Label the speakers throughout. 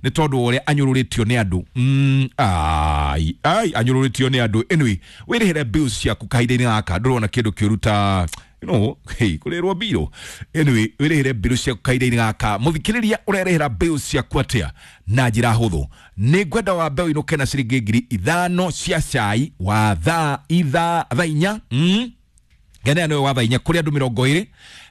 Speaker 1: Nĩ tondũ wa ũrĩa anyũrũrĩtio nĩ andũ. Ai ai, anyũrũrĩtio nĩ andũ. Anyway, wĩrĩhĩre bills ciaku kahinda-inĩ gaka, ndũrona kĩndũ kĩũru ta hey, kũrĩrwo mbirũ. Anyway, wĩrĩhĩre bills ciaku kahinda-inĩ gaka. Mũthikĩrĩria, ũrerĩhĩra bills ciaku atĩa na njĩra hũthũ? Nĩ ngwenda wambe ũinũke na ciringi 5,000 cia cai wa thaa ithaa thaa inya. Ngene nĩwe wa thaa inya kũrĩ andũ 20,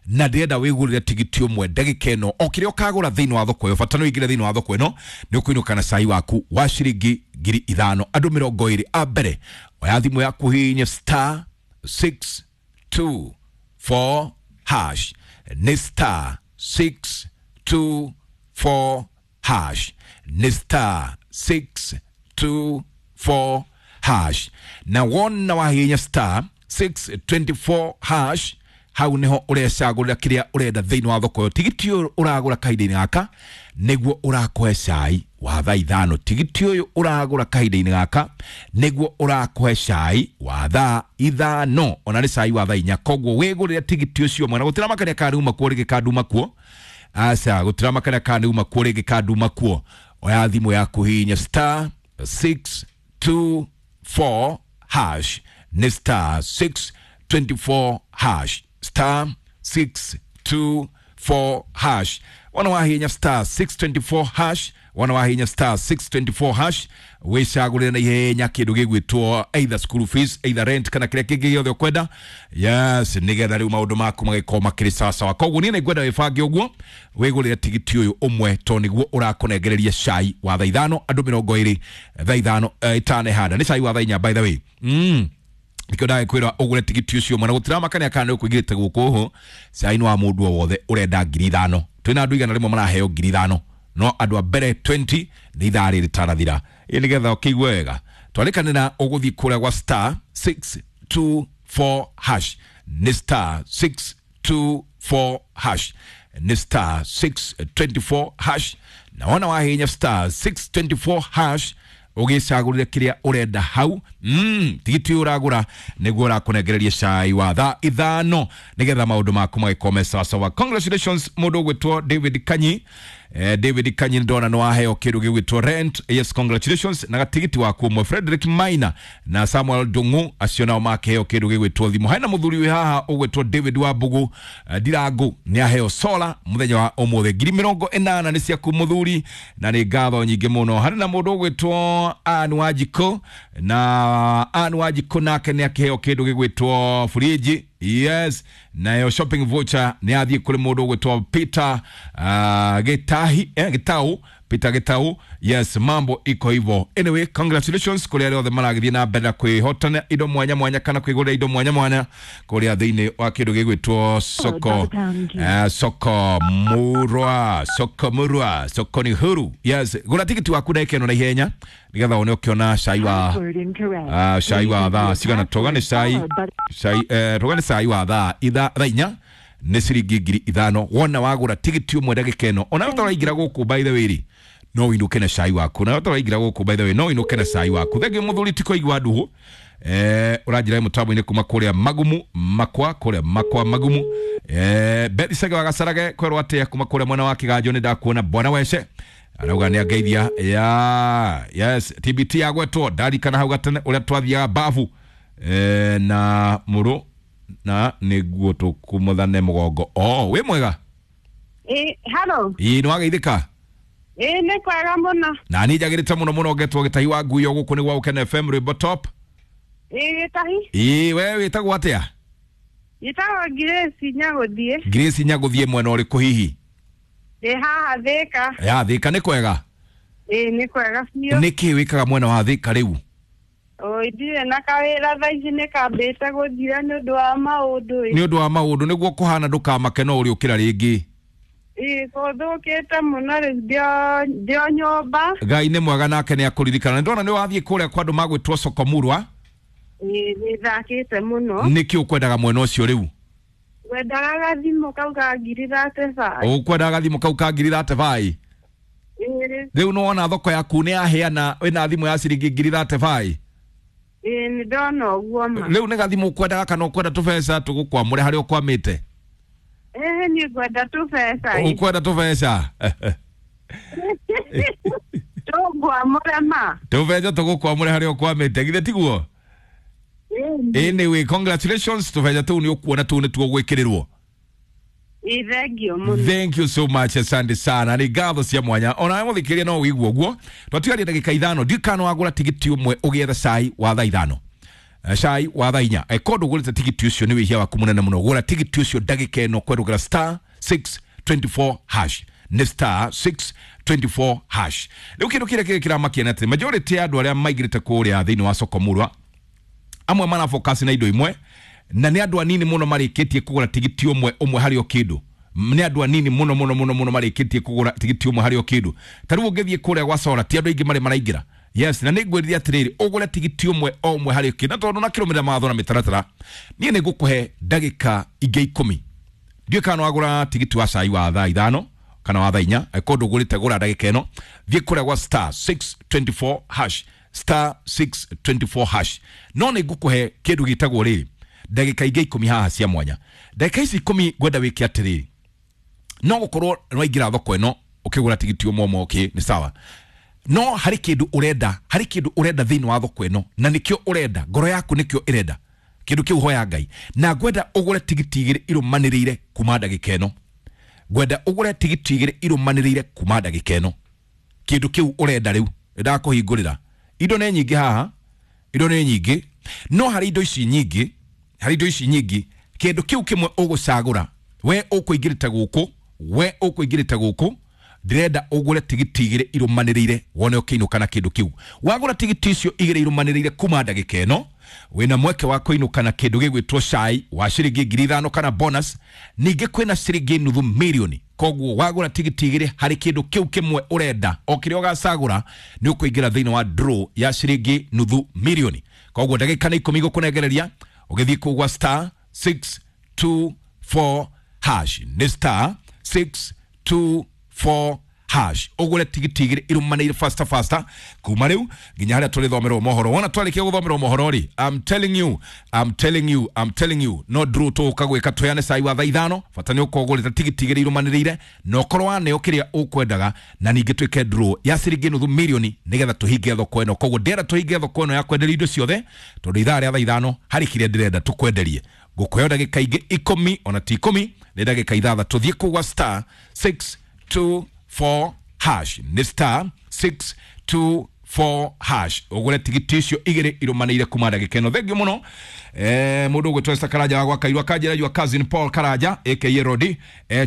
Speaker 1: na ndĩrenda wĩgũrĩre tigiti ũmwe ndagĩka ĩno. O kĩrĩa ũkagũra thĩinĩ wa thoko ĩyo, bata nĩ ũingĩre thĩinĩ wa thoko ĩno, nĩ ũkũinũka na cai waku wa ciringi 5,000. Andũ 20 a mbere, oya thimũ yaku, hihinye star 624 hash. Nĩ star 624 hash, nĩ star 624 hash. Na wona wahihinya star 624 hash, hau niho ũrecagũrĩra kĩrĩa ũrenda thĩinĩ wa thoko ĩyo. Tigiti ũyũ ũragũra kahinda-inĩ gaka nĩguo ũrakũhe cai wa thaa 5. Tigiti ũyũ ũragũra kahinda-inĩ gaka nĩguo ũrakũhe cai wa thaa 5, ona nĩ cai wa thaa 4. Koguo wĩgũrĩre tigiti ũcio mwana, gũtiramakania kana nĩ uma kuo rĩngĩ kana nduma kuo. Aca, gũtiramakania kana nĩ uma kuo rĩngĩ kana nduma kuo. Oya thimũ yaku, hihinya star 624 hash. Nĩ star 624 hash, star 624 hash. Wana wahinya star 624 hash, wana wahinya star 624 hash, wicagũrĩre na ihenya kĩndũ gĩgwĩtwo either school fees, either rent, kana kĩrĩa kĩngĩ gĩothe ũkwenda. Yes, nĩgetha rĩu maũndũ maku magĩkorwo makĩrĩ sawasawa. Koguo niĩ nĩngwenda wĩbange ũguo, wĩgũrĩre tigiti ũyũ ũmwe, tondũ nĩguo ũrakũnengereria cai wa thaa 5, andũ 20, thaa 5 itanehanda nĩ cai wa thaa 4, by the way. Nikio ndagĩkwĩra ũgũre tigiti ũcio mwana, gũtiramakania kana nĩ ũkũingĩrĩte gũkũ ũũ. Cai nĩ wa mũndũ o wothe ũrenda 5,000. Twĩna andũ 100 maraheo 5,000, no andũ a mbere 20 nĩ ithaa rĩrĩ rĩtanathira. Ĩ nĩgetha ũkĩigue wega, twarĩkanĩra ũgũthiĩ kũrĩa gwa star 624 hash. Nĩ star 624 hash, nĩ star 624 hash. Na wona wahihinya star 624 hash, ũgĩcagũrĩre kĩrĩa ũrenda hau. Tigiti ũyũ ũragũra nĩguo ũrakũnengereria cai wa thaa 5, nĩgetha maũndũ maku magĩkorwo me sawasawa. Congratulations mũndũ ũgwĩtwo David Kanyi. David Kanyi, ndona nĩ waheo kĩndũ gĩgwĩtwo rent. Yes, congratulations na gatigiti waku ũmwe. Frederick Maina na Samuel Ndung'u, acio nao makĩheo kĩndũ gĩgwĩtwo thimũ. Hena mũthuri wĩ haha ũgwĩtwo David Wambugu Ndirangu, nĩ aheo sola mũthenya wa ũmũthĩ. 80,000 nĩ ciaku mũthuri, na nĩ ngatho nyingĩ mũno. Harĩ na mũndũ ũgwĩtwo Ann Wanjikũ, na Ann Wanjikũ nake nĩ akĩheo kĩndũ gĩgwĩtwo fridge. Yes, nayo shopping voucher nĩ athiĩ kũrĩ mũndũ ũgwĩtwo Peter Gitahi, Gitau, Peter Gitau. Yes, mambo iko hivyo. Anyway, congratulations kũrĩ arĩa othe maragĩthiĩ na mbere na kwĩhotana indo mwanya mwanya kana kwĩgũrĩra indo mwanya mwanya kũrĩa thĩinĩ wa kĩndũ gĩgwĩtwo soko, soko murwa, soko murwa, soko ni huru. Yes, gũra tigiti waku ndagĩka ĩno na ihenya, nĩgetha wone ũkĩona cai wa cai wa thaa cigana. Toga nĩ cai cai toga nĩ cai wa thaa thaa 4, nĩ ciringi 5,000. Wona wagũra tigiti ũmwe ndagĩka ĩno, ona ũtaraingĩra gũkũ, by the way rĩ, no ũinũke na cai waku. Na ũtaraingĩra gũkũ, by the way, no ũinũke na cai waku. Thengiũ mũthuri ti kũigua nduhu ũranjĩra mũtambo-inĩ kuma kũrĩa Magumu makwa, kũrĩa makwa Magumu. Bethi Sege wa Gacarage, kwerwo atĩa kuma kũrĩa mwena wa Kĩganjo? Nĩ ndakuona bwana wece arauga nĩ angeithia ya. Yes, TBT yagwetwo, ndarikana hau gatene ũrĩa twathiaga babu na mũrũ na nĩguo tũkumuthane mũgongo. Oh, wĩ mwega?
Speaker 2: Hello.
Speaker 1: Ĩ, nĩ wageithĩka?
Speaker 2: Ĩ, nĩ kwega mũno.
Speaker 1: Na niĩ njagĩrĩte mũno mũno, ngetwo Gĩtahi wa Nguyo, gũkũ nĩ gwa Gũkena FM, rwĩmbo top.
Speaker 2: Ĩ, Gĩtahi.
Speaker 1: Ĩ, we wĩtagwo atĩa?
Speaker 2: Njĩtagwo Grace Nyagũthiĩ.
Speaker 1: Grace Nyagũthiĩ, mwena ũrĩkũ hihi?
Speaker 2: Ndĩ haha Thĩka.
Speaker 1: Ya Thĩka nĩ kwega?
Speaker 2: Ĩ, nĩ kwega biũ.
Speaker 1: Nĩ kĩĩ wĩkaga mwena wa Thĩka rĩu?
Speaker 2: Oi, ndirĩ na kawĩra thaa ici, nĩ kambĩte gũthira nĩ ũndũ wa maũndũ ĩ.
Speaker 1: Nĩ ũndũ wa maũndũ nĩguo kũhana, ndũkamake, no ũrĩũkĩra rĩngĩ.
Speaker 2: Ĩ, gũthũkĩte mũno rĩu ndĩ o nyũmba.
Speaker 1: Ngai nĩ mwega, nake nĩ akũririkana. Nĩ ndona nĩ wathiĩ kũrĩa kwa andũ magwĩtwo Sokomurwa.
Speaker 2: Ĩ, nĩ thakĩte mũno.
Speaker 1: Nĩkĩ ũkwendaga mwena ũcio rĩu?
Speaker 2: Ngwendaga gathimũ kau ka 35,000.
Speaker 1: Ũkwendaga gathimũ kau ka 35,000?
Speaker 2: Ĩ.
Speaker 1: Rĩu nĩ wona thoko yaku nĩ yaheana, wĩna thimũ ya ciringi 35,000.
Speaker 2: Ĩ, nĩ ndona ũguo ma.
Speaker 1: Rĩu nĩ gathimũ ũkwendaga kana ũkwenda tũbeca tũgũkwamũre harĩa ũkwamĩte?
Speaker 2: Ĩ, niĩ ngwenda tũbeca ĩ.
Speaker 1: Ũkwenda tũbeca.
Speaker 2: Mũkwamũre ma.
Speaker 1: Tũbeca tũgũkwamũre harĩa ũkwamĩte githĩ tiguo? Anyway, congratulations, tũbeca tũu nĩ ũkuona tũu nĩtuo gwĩkĩrĩrwo.
Speaker 2: Ĩ thengio mũno.
Speaker 1: Thank you so much, asante sana, nĩ ngatho cia mwanya. Ona mũthikĩria no wĩigua ũguo, twatigaria ndagĩka 5, ndiũĩ kana wagũra tigiti ũmwe ũgĩetha cai wa thaa 5, cai wa thaa 4. Angĩkorwo ndũgũrĩte tigiti ũcio nĩ wĩhia waku mũnene mũno. Gũra tigiti ũcio ndagĩka ĩno kwerũgĩra star 624 hash, nĩ star 624 hash. Rĩu kĩndũ kĩrĩa kĩrĩ kĩramakia nĩ atĩ majority ya andũ arĩa maingĩrĩte kũrĩa thĩinĩ wa soko murwa, amwe marafocus na indo imwe, na nĩ andũ anini mũno marĩkĩtie kũgũra tigiti ũmwe ũmwe harĩ o kĩndũ. Nĩ andũ anini mũno mũno mũno mũno marĩkĩtie kũgũra tigiti ũmwe harĩ o kĩndũ. Ta rĩu ũngĩthiĩ kũrĩa gwa Sora, ti andũ aingĩ marĩ maraingĩra. Yes, na nĩ ngwĩrire atĩrĩrĩ, ũgũre tigiti ũmwe o ũmwe harĩ o kĩndũ, na tondũ nakĩrũmĩrĩra mawatho na mĩtaratara, niĩ nĩ ngũkũhe ndagĩka ingĩ 10. Ndiũĩ kana wagũra tigiti wa cai wa thaa 5 kana wa thaa 4. Angĩkorwo ndũgũrĩte, gũra ndagĩka ĩno, thiĩ kũrĩa gwa star 624 hash, star 624 hash. No nĩ ngũkũhe kĩndũ gĩtagwo rĩrĩ, ndagĩka ingĩ 10 haha cia mwanya. Ndagĩka ici 10 ngwenda wĩke atĩrĩrĩ, no gũkorwo nĩwaingĩra thoko ĩno ũkĩgũra tigiti ũmwe ũmwe, okay, nĩ sawa, no harĩ kĩndũ ũrenda, harĩ kĩndũ ũrenda thĩinĩ wa thoko ĩno, na nĩkĩo ũrenda, ngoro yaku nĩkĩo ĩrenda kĩndũ kĩu, hoya Ngai. Na ngwenda ũgũre tigiti 2 irũmanĩrĩire kuma ndagĩka ĩno. Ngwenda ũgũre tigiti 2 irũmanĩrĩire kuma ndagĩka ĩno, kĩndũ kĩu ũrenda. Rĩu ndakũhingũrĩra, indo nĩ nyingĩ haha, indo nĩ nyingĩ, no harĩ indo ici nyingĩ, harĩ indo ici nyingĩ, kĩndũ kĩu kĩmwe ũgũcagũra, we ũkũingĩrĩte gũkũ, we ũkũingĩrĩte gũkũ, ndĩrenda ũgũre tigiti 2 irũmanĩrĩire, wone ũkĩinũka na kĩndũ kĩu. Wagũra tigiti icio 2 irũmanĩrĩire kuma ndagĩka ĩno, wĩna mweke wa kũinũka na kĩndũ gĩgwĩtwo cai wa ciringi 5,000 kana bonus. Ningĩ kwĩna ciringi nuthu mirioni. Koguo wagũra tigiti 2 harĩ kĩndũ kĩu kĩmwe ũrenda, o kĩrĩa ũgacagũra, nĩ ũkũingĩra thĩinĩ wa draw ya ciringi nuthu mirioni. Koguo ndagĩka nĩ 10 gũkũnengereria ũgĩthiĩ kũu gwa star 624 hash, nĩ star 624 hash, ũgũre tigiti 2 irũmanĩire faster faster kuma rĩu nginya harĩa tũrĩthomerwo mohoro. Wona twarĩkia gũthomerwo mohoro rĩ, I'm telling you, I'm telling you, I'm telling you, no draw tũgũka gwĩka tũheane cai wa thaa 5. Bata nĩ ũkorwo ũgũrĩte tigiti 2 irũmanĩrĩire na ũkorwo waneo kĩrĩa ũkwendaga, na ningĩ twĩke draw ya ciringi nuthu mirioni nĩgetha tũhinge thoko ĩno. Koguo ndĩrenda tũhinge thoko ĩno ya kwenderia indo ciothe, tondũ ithaa rĩa thaa 5 harĩ kĩrĩa ndĩrenda tũkwenderie. Ngũkũheo ndagĩka ingĩ 10, ona ti 10, nĩ ndagĩka 6. Thiĩ kũu gwa star 624 hash, nĩ star 624 hash, ũgũre tigiti icio 2 irũmanĩire kuma ndagĩka ĩno. Thengio mũno. Mũndũ ũgwĩtwo Esther Karanja wa Gwakairwa kanjĩra your cousin Paul Karanja aka Rodi,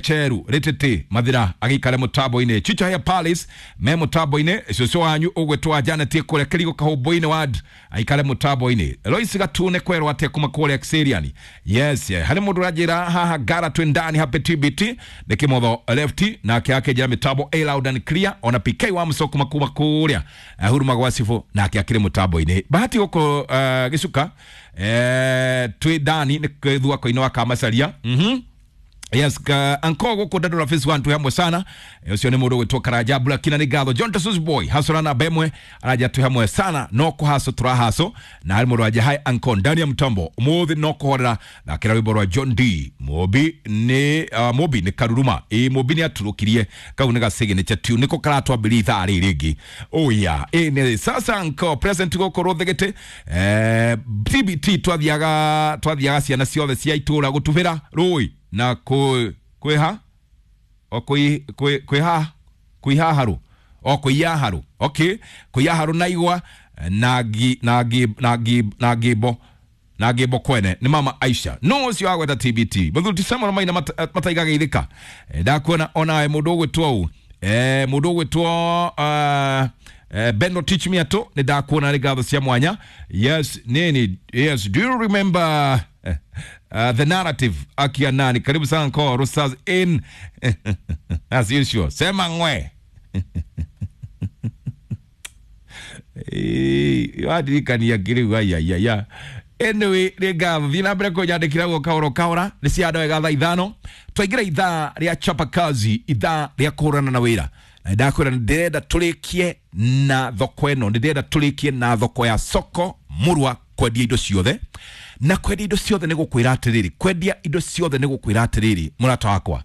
Speaker 1: Cheru Rĩtĩtĩ Mathira agĩikare mũtambo-inĩ, Chicha Hair Palace me mũtambo-inĩ, cũcũ wanyu ũgwĩtwo Janet kũrĩa Kĩrigo Kahũmbũ-inĩ ward aikare mũtambo-inĩ, Lois Gatune kwerwo atĩa kuma kũrĩa Xerian. Yes, harĩ mũndũ ũranjĩra haha gara twĩ ndani hape TBT nĩ Kĩmotho left nake akĩnjĩra mĩtambo a loud and clear. Ona PK wa Mũcoko kuma kũrĩa Huruma gwa Cibũ nake akĩrĩ mũtambo-inĩ. Bahati gũkũ Gĩcuka, twĩ ndani nĩ thwako-inĩ wa Kamacaria. Yes, anko gũkũ Dandora phase 1 twĩ hamwe sana. Ũcio nĩ mũndũ ũgwĩtwo Karanja Blakina, nĩ ngatho. John Tasus boy hasora na bemwe araja twĩ hamwe sana, no kũhaco tũrahaco. Na harĩ mũndũ wanja hi anko ndani ya mtambo ũmũthĩ no kũhorera, thakĩra rwĩmbo rwa John D Mobi, nĩ Mobi nĩ karuruma ĩ Mobi nĩ aturũkirie kau nĩ ga signature tune nĩko karatwambĩria ithaa rĩrĩ rĩngĩ. Oh yeah, ĩ nĩ sasa anko present gũkũ Rũthĩgĩtĩ, TBT twathiaga ciana ciothe cia itũra gũtubĩra rũĩ na kwĩha o kwĩha kwĩhaharũ o kwĩyaharũ, okay, kwĩyaharũ na igwa na ngi na ngi na ngi na ngimbo na ngimbo kwene nĩ mama Aisha no ũcio wagweta TBT mũthuri ti Samuel Maina mataigaga ithika. Ndakuona onawe mũndũ ũgwĩtwo ũ, mũndũ ũgwĩtwo Beno teach me ato, nĩ ndakuona, nĩ ngatho cia mwanya. Yes, nini, yes, do you remember the narrative akia nani? Karibu sana kwa Rosas in as usual, sema ngwe wadirikania ngĩrĩu aiaiaia. Anyway, nĩ ngatho, thiĩ na mbere kũnyandĩkĩra guo kahoro kahora nĩ cia wega. Thaa 5 twaingĩra ithaa rĩa chapa kazi, ithaa rĩa kũhũrana na wĩra, na ndakwĩra nĩ ndĩrenda tũrĩkie na thoko ĩno, nĩ ndĩrenda tũrĩkie na thoko ya soko murwa kwendia indo ciothe. Na kwendia indo ciothe nĩ gũkwĩra atĩrĩrĩ, kwendia indo ciothe nĩ gũkwĩra atĩrĩrĩ, mũrata wakwa.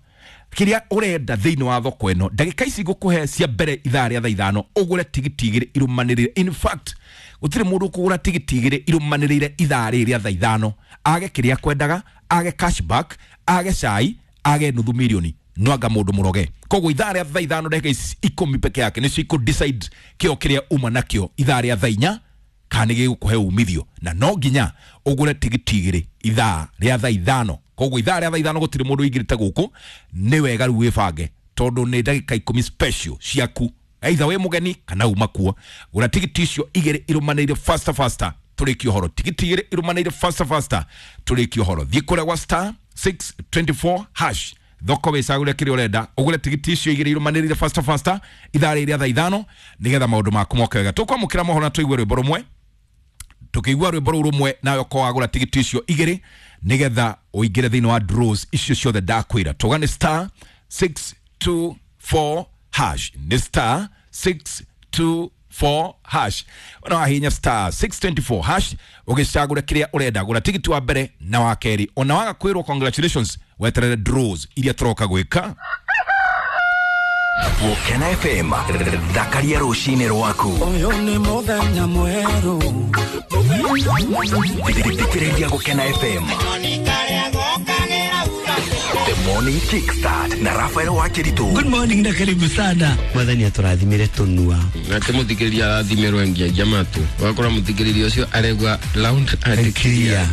Speaker 1: Kiria urenda thiini wa thoko ino ndagika ici ngukuhe cia mbere ithaa ria thaa ithano ugure tigiti igiri irumanirire. In fact, gutiri mundu ukugura tigiti igiri irumanirire ithaa riri ria thaa ithano age kiria kwendaga, age cashback, age cai, age nuthu milioni, no anga mundu muroge. Koguo ithaa ria thaa ithano ndagika ici 10 peke yake nicio iku decide kio kiria uma nakio ithaa ria thaa inya kana nĩ gĩgũkũhe umithio, na no nginya ũgũre tigiti igĩrĩ ithaa rĩa thaa ithano. Koguo ithaa rĩa thaa ithano gũtirĩ mũndũ ũingĩrĩte gũkũ, nĩ wega rĩu wĩbange tondũ nĩ ndagĩka 10 special ciaku, either wĩ mũgeni kana uma kuo. Gũra tigiti icio igĩrĩ irũmanĩrĩire faster faster tũrĩkie ũhoro. Tigiti igĩrĩ irũmanĩrĩire faster faster tũrĩkie ũhoro. Thiĩ kũrĩa gwa star 624 hash thoko wĩcagũre kĩrĩa ũrenda, ũgũre tigiti icio igĩrĩ irũmanĩrĩire faster faster ithaa rĩrĩ rĩa thaa ithano nĩgetha maũndũ maku moke wega. Tũkwamũkĩra mohoro na tũigue rwĩmbo rũmwe. Tukigua rwĩmbo rũu rũmwe nawe ũkorwo wagũra tigiti icio igĩrĩ nĩgetha ũingĩre thĩinĩ wa draws icio ciothe ndakwĩra. Tuga nĩ star 624 hash, nĩ star 624 hash. Ona wahihinya star 624 hash ũgĩcagũra kĩrĩa ũrenda, gũra tigiti wa mbere na wa kerĩ. Ona waga kwĩrwo congratulations, weterere draws iria tũroka gwĩka.
Speaker 3: Gũkena FM, thakaria rũcinĩ rwaku.
Speaker 4: Ũyũ nĩ mũthenya mwerũ.
Speaker 3: Thikĩrĩria Gũkena FM. The Morning Kickstart na Rafael Wakiritu.
Speaker 4: Good morning na karibu sana. Mwathani atũrathimire tũnua.
Speaker 5: Nake mũthikĩrĩria arathimĩrwo ngiagia matũ, ũgakora mũthikĩrĩria ũcio aregua loud and clear.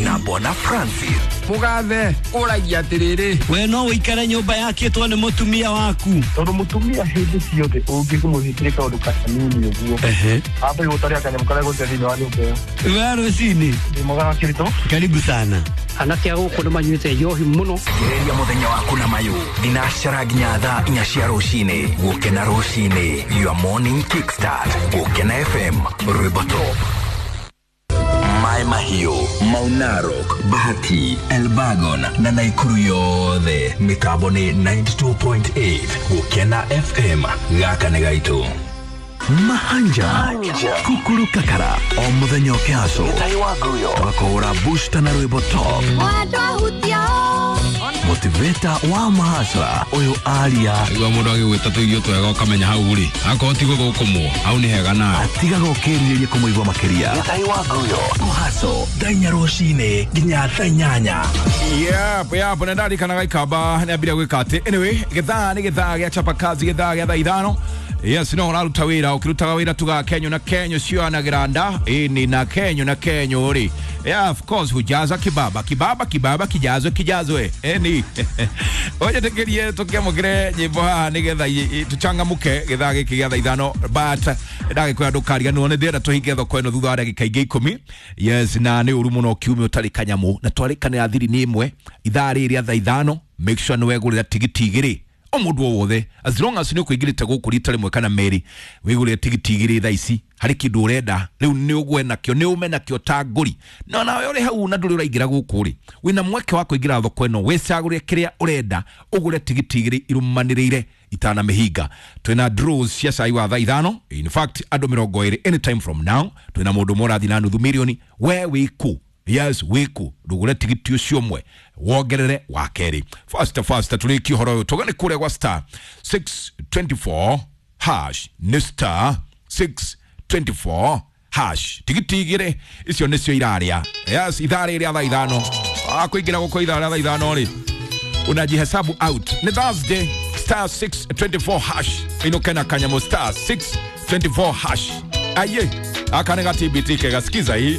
Speaker 3: Na Bwana Francis.
Speaker 5: Mũgathe ũragia atĩrĩrĩ,
Speaker 4: We no ũikare nyũmba yakĩtwo nĩ mũtumia waku.
Speaker 6: Tondũ mũtumia hĩndĩ ciothe ũngĩmũhĩtĩria kaũndũ kanini ũguo, ambe gũtaria kanyamũ karĩa gũte thĩinĩ wa nyũmba ĩyo.
Speaker 4: We rũcinĩ.
Speaker 6: Ndĩ mwega wa Kĩritũ.
Speaker 4: Karibu sana.
Speaker 7: Anake a gũkũ nĩ manyuĩte njohi mũno.
Speaker 3: Thikĩrĩria mũthenya waku na mayũ thinacara nginya thaa 4 cia rũcinĩ. Gũkena rũcinĩ, your morning kickstart. Gũkena FM, rwĩmbo top. Mai Mahiũ, Mau Narok, Bahati, Elbagon na Naikuru yothe mĩtambo nĩ 92.8. Gũkena FM, gaka nĩ gaitũ. Mahanja Kukuru Kakara o mũthenya ũkĩhaco tũgakũhũra booster na rwĩmbo top. Motivator wa mahasra ũyũ aria
Speaker 5: igua mũndũ agĩgwĩta tũirio twega ũkamenya hau rĩ akorwo ti gũthũkũmwo hau nĩ hega nawe
Speaker 3: atigaga ũkĩrirĩria kũmũigua makĩria. Kũhaco thaa inya rũcinĩ nginya thaa inyanya.
Speaker 1: Yep, yep, na ndarikanaga ikamba nĩambire gwĩka atĩ. Anyway, gĩthaa nĩ gĩthaa gĩa chapa kazi, gĩthaa gĩa thaa ithano. Yes, no ũraruta wĩra, ũkĩrutaga wĩra tugaga kenyo na kenyo cioanagĩra nda, ĩni na kenyo na kenyo rĩ. Yeah, of course, hujaza kibaba, kibaba, kibaba, kijazwe, kijazwe. Eni. Oje tũkĩamũkĩre nyĩmbo haha nĩgetha tũchangamũke gĩthaa gĩkĩ gĩa thaa ithano, but ndagĩkwĩra ndũkariganĩrwo nĩ ndĩrenda tũhinge thoko ĩno thutha wa ndagĩka ingĩ 10. Yes, na nĩ ũru mũno kiumia ũtarĩ kanyamũ, na twarĩkanĩra thiri nĩ ĩmwe ithaa rĩrĩ rĩa thaa ithano. Make sure nĩ wegũrĩra tigiti igĩrĩ o mũndũ o wothe, as long as nĩ ũkũingĩrĩte gũkũ rita rĩmwe kana merĩ, wĩgũrĩre tigiti igĩrĩ thaa ici. Harĩ kĩndũ ũrenda rĩu nĩ ũgwe nakĩo, nĩ ũme nakĩo ta ngũri. No nawe ũrĩ hau na ndũrĩ ũraingĩra gũkũ rĩ, wĩna mweke wa kũingĩra thoko ĩno wĩcagũre kĩrĩa ũrenda, ũgũre tigiti igĩrĩ irũmanĩrĩire itana mĩhinga. Twĩna draws cia cai wa thaa ithano, in fact andũ 20 anytime from now. Twĩna mũndũ ũmwe ũrathiĩ na nuthu milioni. We wĩkũ? Yes, wĩkũ? Ndũgũre tigiti ũcio ũmwe wongerere wa kerĩ. Faster faster tũrĩkie ũhoro ũyũ. Tũgane kũrĩa gwa star 624 hash, nĩ star 624 hash. Tigiti igĩrĩ icio nĩcio irarĩa. Yes, ithaa rĩrĩ rĩa thaa ithano. Kũingĩra gũkũ ithaa rĩa thaa ithano rĩ, unajihesabu out. Ni Thursday, star 624 hash. Inokena kanyamo star 624 hash. Aye, aka nĩ ga TBT kega, sikiza hii.